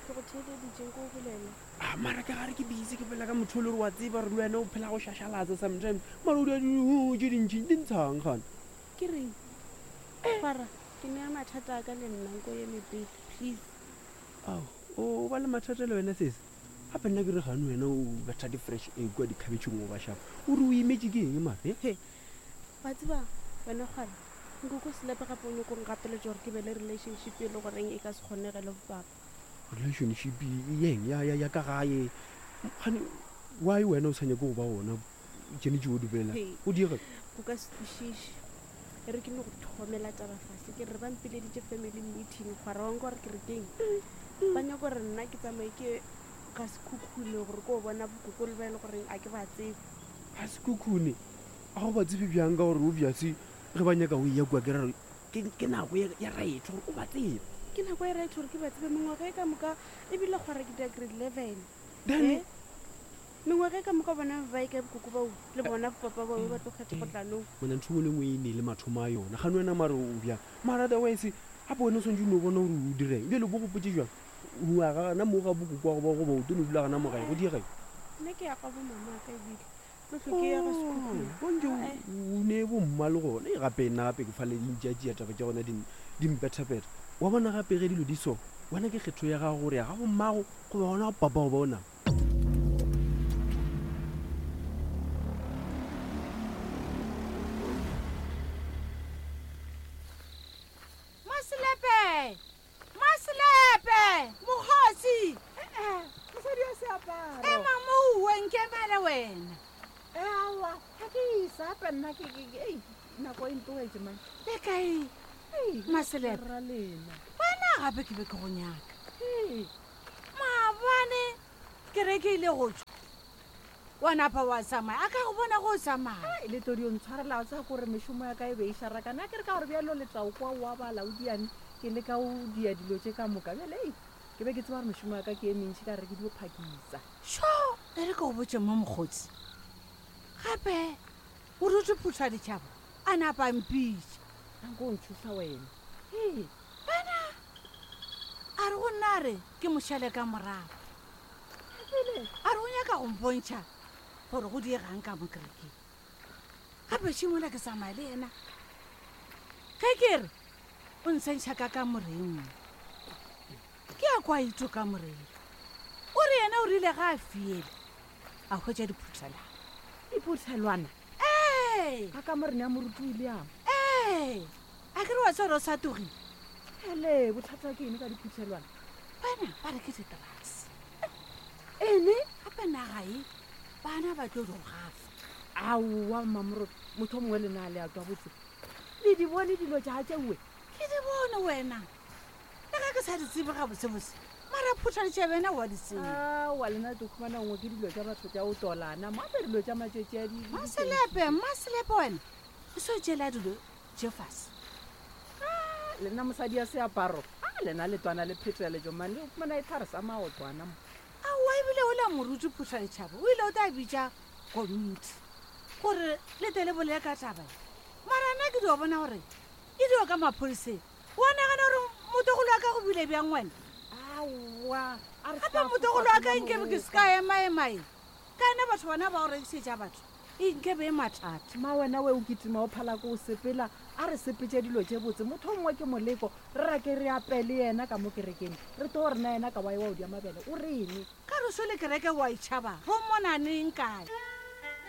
Ke go theeleditše nko o bolela. A mara ka gare ke busy ke bolela ka motho o le gore wa tseba gore le wena o phela go šašalatsa sometimes. Mara o dira di tše dintši di ntshang gana. Ke reng? Kgwara, ke nea mathata a ka le nna nko eme pele, please. Ao, o ba le mathata le wena sesi? Gape nna ke re gane wena o betha di-fresh egg kua dikhabetšheng o ba šapa. O re o imetše ke eng mara? He? He, wa tseba wena kgwara, nkoko Selepe gape o nyoko ngapeletša gore ke be le relationship e le goreng e ka se kgonege le bopapa. Relationship yeng ya, ya, ya ka gae? Gane why wena o sa nyake go ba gona tšene tšeo o di bolelang? He, O diega. o ka se kwešiše. E re ke no go thomela taba fase ke re ba mpileditše family meeting kgwara wa nka gore ke re keng. Ba nyaka gore nna ke tsamaye ke ga Sekhukhune gore ko bona bokoko le ba e le goreng a ke ba tsebe. Ga Sekhukhune? A go ba tsebe bjang ka gore obvious ge ba nyaka o eya kua ke ra gore ke, ke nako ya, ya right gore o ba tsebe. Ke nako ya right gore ke ba tsebe mengwaga e ka moka ebile kgwara ke dira grade 11. Then Eh? Mengwaga e ka moka bona ba e kae bokoko bao le bona bopapa bao ba tlo kgetha go tla nong. Mona ntho engwe le engwe e ne le mathomo a yona. Gane wena mare o bjang? Mara otherwise gape wena o swantše o no bona gore o direng. Bjale o bo gopotše bjang? O ya gana mo ga bokoko wa go ba goba o tlo no dula gana mo gae? Go diega eng? Nna ke ya ga bo mama ka ebile tlo hlwe ke ya ga Sekhukhune. O ntše Ae. o ne bo mma le gona. Ei gape nna gape ke fale di ntšeatšea taba tša gona di di mpethapetha. Wa bona gape ge dilo di so, wena ke kgetho ya gago gore ya ga bo mmago goba gona ga papa go bona. Maselepe! Maselepe! Mokgosi! Mosadi ya seaparo. Ema mouwe nkemele wena. Aowa, ga ke isa gape nna ke ke ke- ei, nako e ntogetše man. Le kae? Ei, Maselepe. Ra lena. Wena gape ke be ke go nyaka. Ei, Maabane kereke ile go tšwa. Wa napa wa tsamaya. A ka go bona go o tsamaya. Ai, le tlo dio ntshwarela o tsaya kore mešomo ya ka e be e šarakane. A ke re ka gore bjalo le tla o kwa wa bala o diane ke le ka o dia dilo tše ka moka. Bjale ei, ke be ke tseba gore mešomo ya ka ke e mentši ka re ke dio phakisa. Sho, e re ke go botše mo mokgotsi. Gape o rutše phutha ditšhaba a napa a mpitša. Anko o ntšhoša wena. Hei. Bana a re go nna a re ke mo šale ka morago. A re o nyaka go mpontšha gore go diegang ka mo kerekeng. Gape šimola ke tsamaya le yena. Ge ke re o nsentšha ka kamoreng nngwe, ke ya kwa ito kamoreng. O re yena o rile ga a fiele a hwetša diphuthelwana. Diphuthelwana? Ee. Ka kamoreng ya moruti William? Ee. A ke re wa tseba gore o sa togile? Hele, bothata ke eng ka diphuthelwana? Bana ba re ke di-drugs. Ene? Gape naga e bana ba tlo di gafa. Aowa mmamoroto, motho o mongwe le na le a twa botse. Le di bone dilo tša tšeue? Ke di bone wena. Le ge ke sa di tsebe gabotsebotse, mara phutha ditšebe yena wa di tseba. Aowa lena le tlo khumana nngwe ke dilo tša batho tša o tolana, mo ape dilo tša matšetši a di. Mmaselepe, Mmaselepe wena, o se o tšeela dilo tše fase. Ah, lena mosadi ya seaparo, a lena le twana le pheteletšo mane, o khumana e thare sa maotwana mo. Aowa ebile o la moruti phutha ditšhaba o ile o tla bitša komiti gore le tle le bolele ka taba ye. Mara nna ke dio bona gore e dio ka mapholiseng. Wa nagana gore motogolo wa ka go bile bjang wena? Aowa, a re Gape ska motogolo wa ka fofa nke be ke se ka emaema e. Ka ena batho bona ba go rekišetša batho e nke be e mathata. Mma wena we o kitima o phala ko o sepela, a re sepetše dilo tše botse. Motho o mongwe ke moleko, re rake re ape le yena ka mo kerekeng, re tlo re na yena ka wa ewa o dia mabele, o reng? Ka re so le kereke wa e tšhaba, ro mona neng kae?